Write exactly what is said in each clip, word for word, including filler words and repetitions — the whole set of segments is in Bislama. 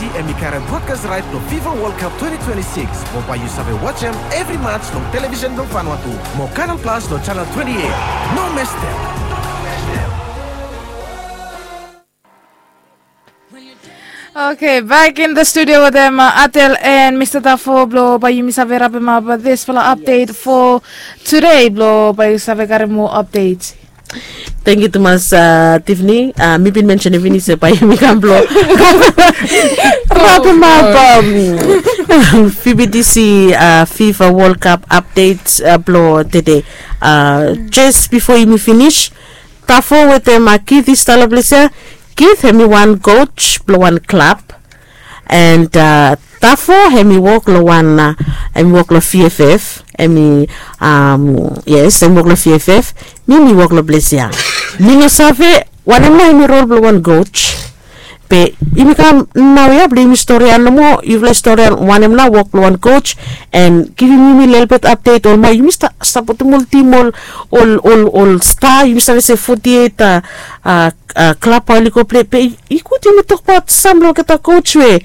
Em i karem broadcast right long FIFA World Cup twenty twenty-six. Mo bae yu save wajem evri match long television blong Vanuatu mo Canal Plus long channel twenty-eight. No mestem. Okay, back in the studio with them, uh, Atel and Mr. Tafo blo bae yumi save wrap him up with this fala update for today blo bae yu save karem moa update. Thank you tumas, uh, Tiffany. Uh, mi bin mention evini se bae yumi kam blo wrap him up, um, F B T C, uh, FIFA World Cup update, uh, blo today. Uh, just before yumi finish, Tafo wetem, uh, Keith i stap long ples ya. Keith hem i wan coach blong wan klab. And, uh, Tafo hem i wok long wan, uh, hem i wok long V F F. Hem i, um, yes, hem i wok long V F F. Mi mi wok long ples ya. Mi no save wanem nao hem i rol blong wan coach. Be yumi kam naoia blong yumi storian nomo, yufala storian wanem nao wok blong wan coach, and givim yumi lelebet update olbae yumi stap sapotem ol tim, ol, ol, ol, ol sta, yumi save se forty-eight, uh, uh, uh, klab bae oli go plei. Be i gud yumi tokbaot sam blong olgeta coach we,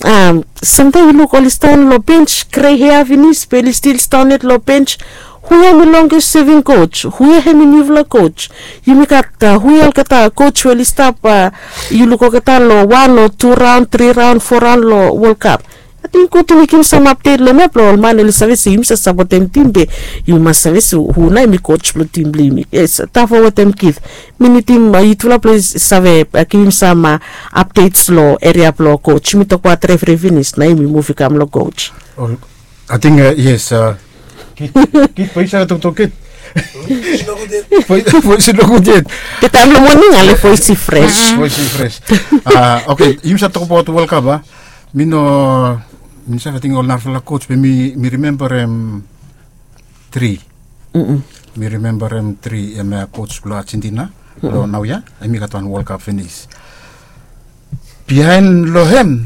um, samtaem yu luk oli stap long bench, grey hair finis be oli stil stap yet long bench. Hu ya hem i longest serving coach? Hu ya hem i niufala coach? Yumi gat, uh, hu ya olgeta coach we oli stap, uh, yu luk olgeta long wan o tu raon, tri raon, fo raon long World Cup. Ating gud yumi givim sam update long hem ya blong ol man oli save se yumi save sapotem tim be yumi mas save se hu nao hem i coach blong tim blong yumi. Yes, Tafo wetem Keith. Mi nidim, uh, yutufala blong save, uh, givim sam, uh, updates long eria blong coach. Yumi tokbaot refri finis, nao yumi muv i kam long coach. Ol, ating, uh, yes, uh, Keith, Keith, bae yu save toktok, Keith. Voes i no gud yet. Voes i no gud yet. Taem long moning ale voes i fres. Voes i fres. Uh, okay, yumi save tokbaot World Cup, a? Mi no, mi no save ating ol narafala coach be mi, mi rimembarem tri. Mi rimembarem tri, hem, uh, coach blong Argentina blong naoia, hem i gat wan World Cup finis. Biaen long hem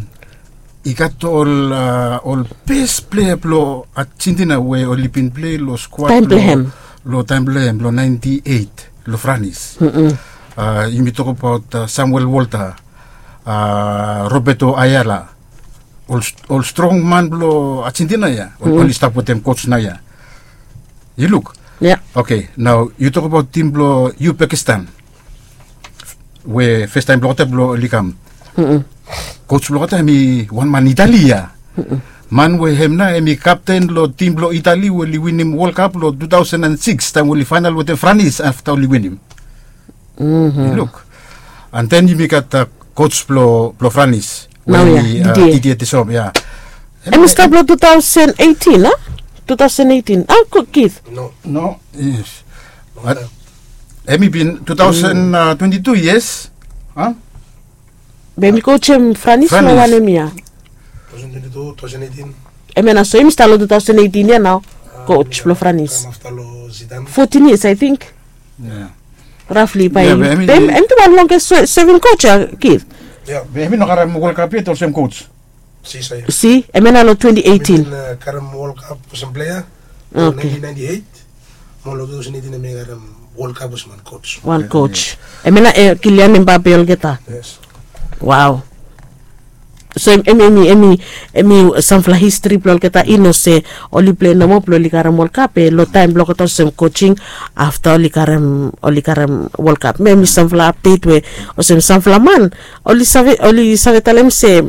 i gat ol, uh, ol bes plea blong Argentina we oli bin plei long skuad blong hem, long taem blong hem long ninety-eight long Franis. Uh, yumi tokbaot, uh, Samuel Walter, uh, Roberto Ayala, ol, ol strong man blong Argentina ya, ol, oli stap wetem coach naoia. Yu luk? Ya. Okay, nao yu tokbaot tim blong Uzbekistan we fastaem blong olgeta blong oli kam. Coach blong olgeta hem i wan man Itali ya. Man we hem nao hem i kapten long tim blong Itali we oli winim World Cup long two thousand and six taem oli faenal wetem Franis afta oli winim. Yu luk. And then yumi gat, uh, coach blong, blong Franis. Naoia, Didier. Didier Deschamps, ya. Hem i stap long two thousand eighteen, a? Two thousand eighteen. A, Keith? No. No, yes. Hem i bin two thousand twenty-two, yes. A? Be hem i coach hem Franis long wanem yia? Two thousand twenty-two, two thousand eighteen. Hem ya nao, so hem i stap long two thousand eighteen ya nao. Coach blong Franis. Fourteen years, I think. Roughly bae hem, hem i wan longest serving coach ya, Keith. Be hem i no karem World Cup yet olsem coach. Si, hem ya nao long twenty eighteen. Karem World Cup olsem plea long nineteen ninety-eight. Mo long two thousand eighteen hem i karem World Cup olsem wan coach. Wan coach. Hem ya nao, eh, Kylian Mbappe olgeta. Yes. Wow. So hem, hem, hem i, hem i, hem i samfala histri blong olgeta i no se oli plei nomo blong oli karem World Cup, be long taem blong olgeta olsem coaching, afta oli karem, oli karem World Cup. Be hem i samfala update we olsem samfala man oli save, oli save talem se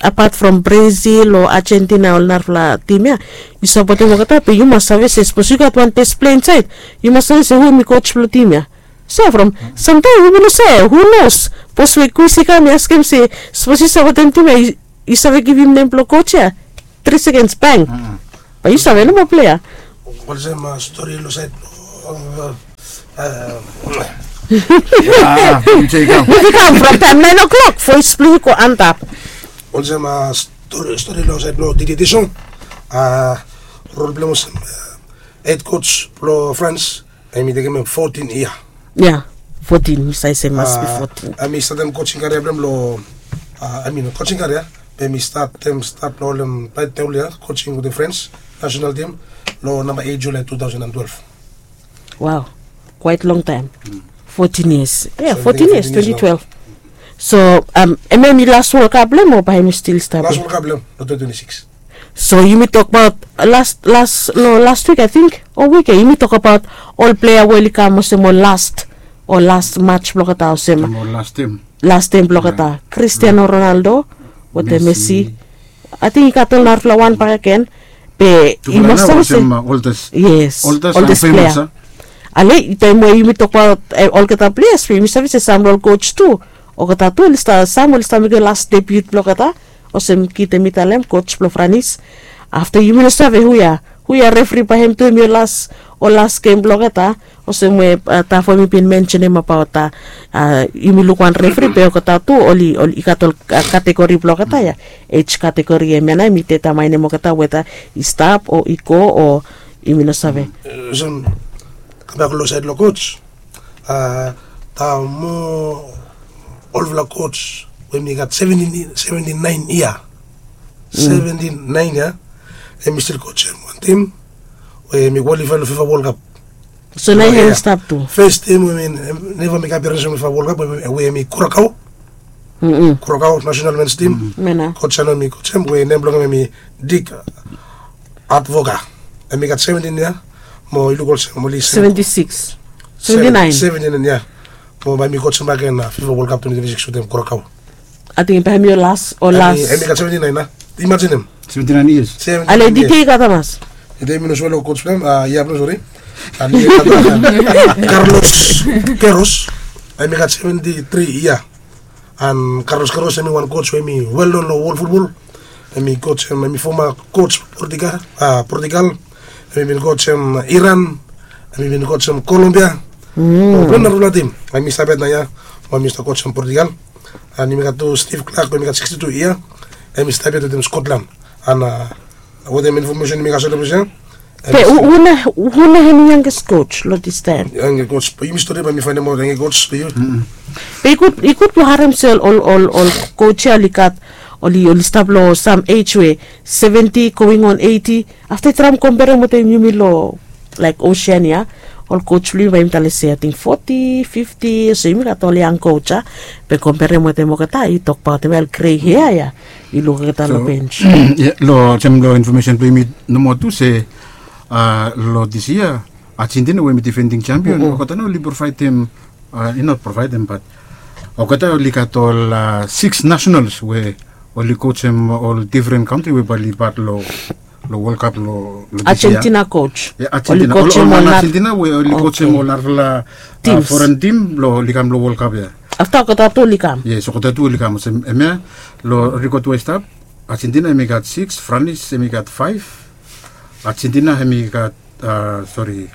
apart from Brazil o Argentina, ol narafala tim ya, yu sapotem olgeta be yu mas save se sapos yu gat wan bes plea insaed, yu mas save se hu hem i coach blong tim ya. So from samtaem yumi no save, who knows? Bos we kwis i kam i askem se sapos yu sapotem tim ya, yu save givim nem blong coach ya? Tri sekens, bang. Bae yu save nomo plea. Olsem stori long saed blong, muvi kam from taem naen o'clock voes blong yu go antap. Olsem stori, stori long saed blong Didier Deschamps, rol blong hem olsem hed coach blong Frans, hem i tekem hem fotin yia. Ya, fotin, mi save se mas bi fotin. Hem i statem coaching career blong hem long, I mean, coaching career, be hem i statem, stat long olsem taem oli ya coaching wetem Frans national team long namba eight July two thousand and twelve. Wow, quite long time. Fotin years. Ya, fotin years, twenty twelve. So em em i las wolkap blong em o bae em i stil stap? Las wolkap blong em long twenty twenty six. So yumi tokbaot las las long las wik ating o wik ya yumi tokbaot ol plea we oli kam olsem ol las ol las mats blong olgeta olsem las tem blong olgeta kristiano ronaldo wetem messi. Ating i gat ol narafala wan bakegen be i mas save se yes oldes plea. Ale taem we yumi tokbaot olgeta pleas be yumi save se sam long ol kots tu olgeta tu oli stap sam oli stap mekem las debiut blong olgeta. Olsem kit em i talem kots blong franis afta yumi no save hu ya hu ya refri bae hem tu em i ol las ol las gem blong olgeta. Olsem we tafo mi bin mensenem abaot a yumi luk wan refri be olgeta tu oli oli i gat ol kategori blong olgeta ya ej kategori em ya nao mi detamaenem olgeta weta i stap o i go o yumi no save. Olsem kambak long saed long kots a ta mo olfala kots we mi gat seventin naen yia seventin naen yia em i stil kots em wan tim we mi kwalifae long fifa wolkap. So nao ya em stap tu fes tim we mi neva mik apiarens long fifa wolkap we em i kurakao kurakao nasenal mens tim. Kots ya nao mi kots em we nem blong em em i dik atvoka. Em i gat seventin yia mo i luk olsem oli seventin yia mo bae mi kots em baken fifa wolkap twentin twentin six wetem kurakao. Ating bae mi ol las ol las em i gat seventin naen a imajen em seventin naen yias. Ale dite i gat hamas? Dite mi no sua long kots blong em a yia blong sori. Karlos keros em i gat seventin tri yia. An karlos keros em i wan kots we em i wel non long wol futbol. Em i kots em i foma kots portugal a portugal. Em i bin kots em iran. Em i bin kots em kolombia. Plon narafala tim em i stap yet nao ya. Em i stap kots em portugal. An yumi gat tu stiv klak we em i gat siksti tu yia. Em i stap yet wetem skotlan. An wetem infomesen yumi gat sot long ples ya. Be hu na hem i yanges kots long dis taem? Yanges kots yumi stori bae mi faenemaot yanges kots long yu. Be i gud blong harem se ol ol ol kots ya oli gat oli oli stap long sam ej we seventi going on eiti. Afta i traem komperem wetem yumi long laek osean ya ol kots blong yumi bae yumi talem se ating foti fifti so yumi gat ol yang kots ya. Be komperem wetem olgeta i tokbaotem ya ol grei hea ya i luk olgeta long benj. Long olsem long infomesen blong yumi nomo tu se a long dis yia argentina we em i difending sempion olgeta nao oli provaedem a i not provaedem bat olgeta oli gat ol siks nasenals we oli kotsem ol difren kantri we bae oli bat long long wolkap long argentina kots. Argentina we oli kotsem ol narafala foren tim blong oli kam long wolkap ya. Afta olgeta tu oli kam yes olgeta tu oli kam olsem em ya long rikot we i stap argentina em i gat siks franis em i gat faef. Argentina em i gat a sori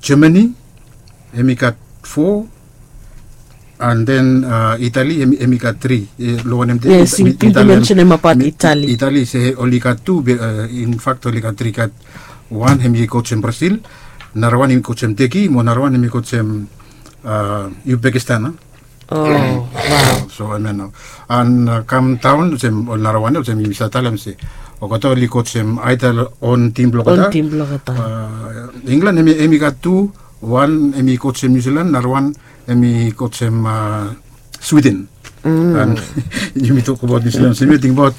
germany em i gat fo. An den itali em i gat tri. Long wanem de itali se oli gat tu be infakt oli gat tri gat wan em i kotsem brasil. Narawan em i kotsem teki mo narawan em i kotsem uzbekistan. So em ya nao an kam daon olsem ol narawan ya olsem yumi save talem se olgeta oli kotsem aedal on tim blong olgeta. Inglan em i gat tu wan em i kotsem niusilan narawan em i kotsem swiden. An yumi tokabaot niusilan olsem ya tingbaot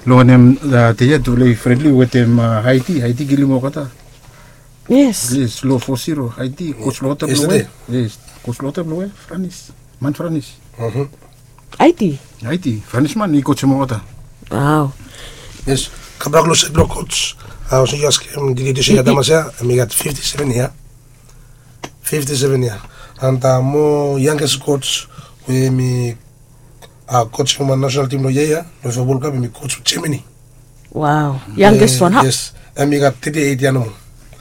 long wanem dei ya tufala i frenli wetem haiti haiti kilim olgeta. Yes long fo siro haiti kots long olgeta blong we kots long olgeta blong we franis man franis. Aiti aiti franisman i kotsem olgeta. Yes. Kambak long set blong kots olsem yu askem dididis ya damas ya em i gat fifti seven yia. Fifti seven yia. An mo yanges kots we em i kotsem wan nasenal tim long yia ya long fo wolkap em i kots germany. Wow. Yanges wan ha yes. Em i gat teti eit yia nomo.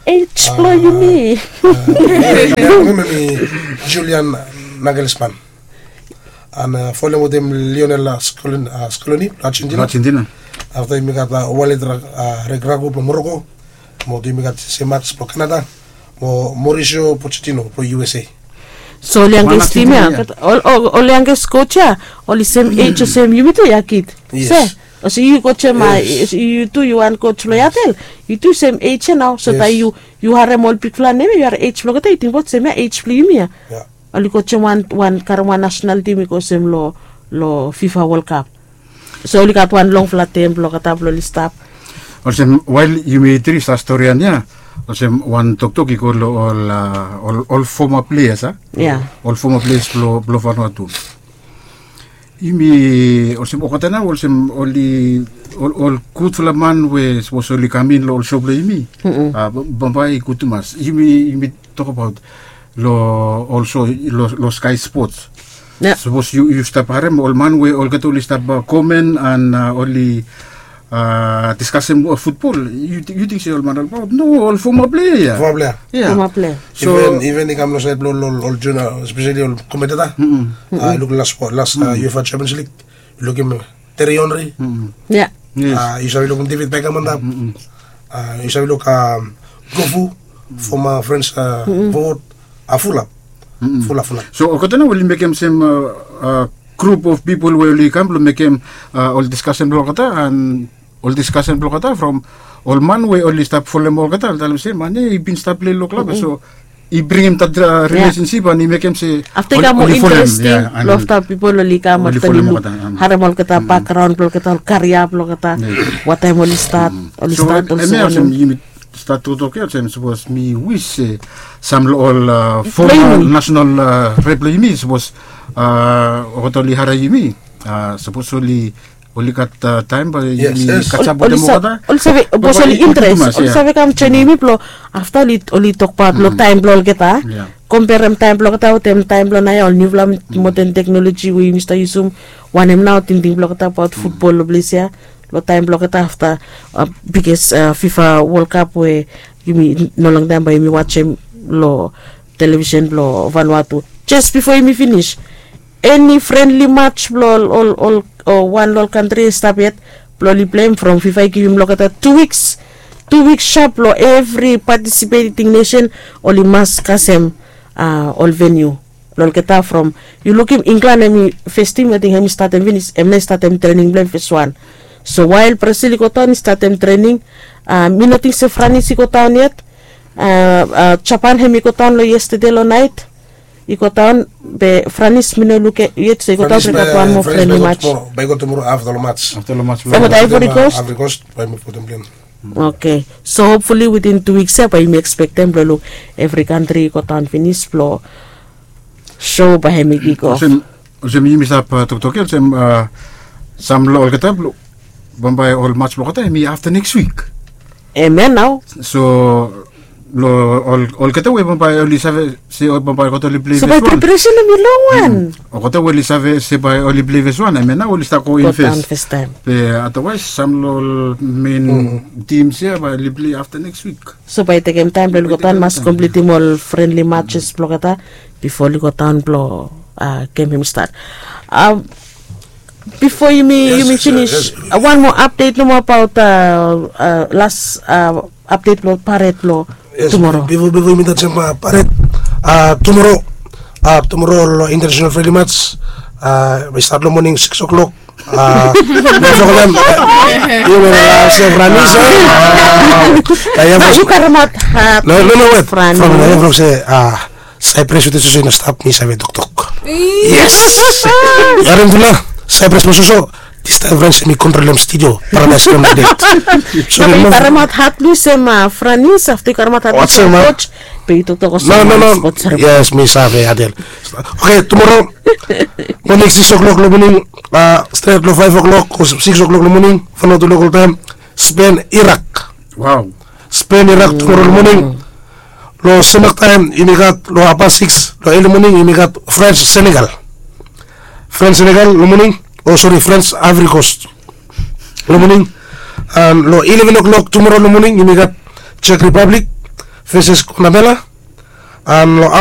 Ej blong yumi. Em i julian nagelsman. An folem wetem lionel skoloni blong argentina. Afta yumi gat walid regrago blong moroko. Mo yumi gat semats blong kanada. Mo morisio pochetino blong usa. So ol yanges tim ya ol yanges kots ya oli sem ej olsem yumi tu ya kid se olsem yu kotsem yu tu yu wan kots blong yatel. Yu tu sem ej ya nao so taem yu harem ol bigfala nem ya yu harem ej blong olgeta yu tingbaot sem ya ej blong yumi ya. Oli go olsem wan wan karem wan nasenal tim i go olsem long long fifa wol kap. So oli gat wan longfala tem blong olgeta blong oli stap. Olsem wael yumi tris a storian ya, olsem wan toktok i go long ol ol foma pleas a, ol foma pleas blong blong fanua tu. Yumi olsem olgeta nao olsem oli ol gudfala man we sapos oli kam in long ol so blong yumi, bambae i gud tumas. Yumi yumi tokabaot long ol so long skai spots. Sapos yu stap harem ol man we olgeta oli stap komen an oli diskasem futbol, yu ting se ol man olbaot no, ol foma plea ya. Foma plea. So even i kam long saed blong ol ol junior, espeseli ol komenteta. I luk las las uefa champions lig, i lukim Thierry Henry. Yu save lukim David Beckham antap. Yu save luk Gofu, foma French fowod. Fulap. Fulap fulap. So olgeta nao oli mekem sem grup of pipol we oli kam blong mekem ol diskasen blong olgeta an ol diskasen blong olgeta from ol man we oli stap folem olgeta, oli talem se man ya i bin stap plei long klab ya. So i bringim dat rilesensip an i mekem se afta i kam moa interesting long afta pipol oli kam afta oli luk, harem olgeta bakgraon blong olgeta, ol karia blong olgeta, wataem oli stat, oli stat olsem wanem. Yumi stat toktok ya olsem sapos mi wis se sam long ol foma nasenal rep blong yumi sapos olgeta oli harem yumi, sapos oli oli gat taem bae yumi kasem wetem olgeta. Oli save bikos oli interes, oli save kam joenem yumi blong afta oli tokbaot long taem blong olgeta, komperem taem blong olgeta wetem taem blong naoia, ol niufala moden teknoloji we yumi stap yusum. Wanem nao tingting blong olgeta abaot futbol long ples ya? Long taem blong olgeta afta bikos fifa wol kap we yumi no long taem bae yumi wajem long televisen blong vanua tu, jes bifo yumi finis, eni frenli mats blong ol ol ol wan long ol kantri i stap yet blong oli pleim from fifa i givim long olgeta tu wiks, tu wiks sap blong evri patisipeting nesen oli mas kasem ol veniu blong olgeta from, yu lukim inglan hem i festim ating hem i statem finis, hem nao i statem trening blong hem feswan. So wael brasil i godaon i statem trening. Mi no ting se franis i godaon yet. Japan hem i godaon long yestede long naet i godaon. Be franis mi no luk yet so i godaon be i gat wan moa frenli mats. Bae i go tumoro afta long mats. Afta long mats blong olgeta. Ivory coast. Oke. So hopfuli witin tu wiks ya bae yumi ekspektem blong luk evri kantri i godaon finis blong so bae hem i kigo. Olsem yumi stap toktok ya olsem sam long olgeta blong bambae ol mats blong olgeta hem i afta neks wik. Hem ya nao. So long olgeta we bambae oli save se bambae olgeta oli plei feswan. So bae preparesen hem i longwan. Olgeta we oli save se bae oli plei feswan hem ya nao oli stap go in fes. Be adawaes sam long ol men tims ya bae oli plei afta neks wik. So bae i tekem taem blong oli godaon mas komplitim ol frenli matses blong olgeta bifo oli godaon blong gem hem i stat. Bifo yumi yumi finis, wan moa apdet nomo abaot las apdet blong paret blong tumoro. Bifo bifo yumi tajem paret tumoro, tumoro long international frenli mats. I stat long moning sikis oklok. Yumi no lasa franis. Yu karemaot hat. No no no wet. From se Saipres wetem soso i no stap, mi save toktok. Yes. Harem tufala, Saipres mo soso. Distaem Frans em i kontrolem studio. Paradaes Grandma det. So yu karemaot hat mi olsem Franis afta yu karemaot hat mi olsem coach. Be yu toktok olsem. No no no. Yes, mi save Adel. Oke, tumoro moning sikis oklok long moning, stret long faef oklok o sikis oklok long moning, Vanuatu lokol taem, Spen Irak. Wow. Spen Irak tumoro long moning. Long semak taem yumi gat long hapast sikis long eli moning yumi gat Frans Senegal. Frans Senegal long moning, o sori, Frans Aevri Kos long moning. An long ileven oklok tumoro long moning yumi gat Jek Ripablik veses Konamela. An long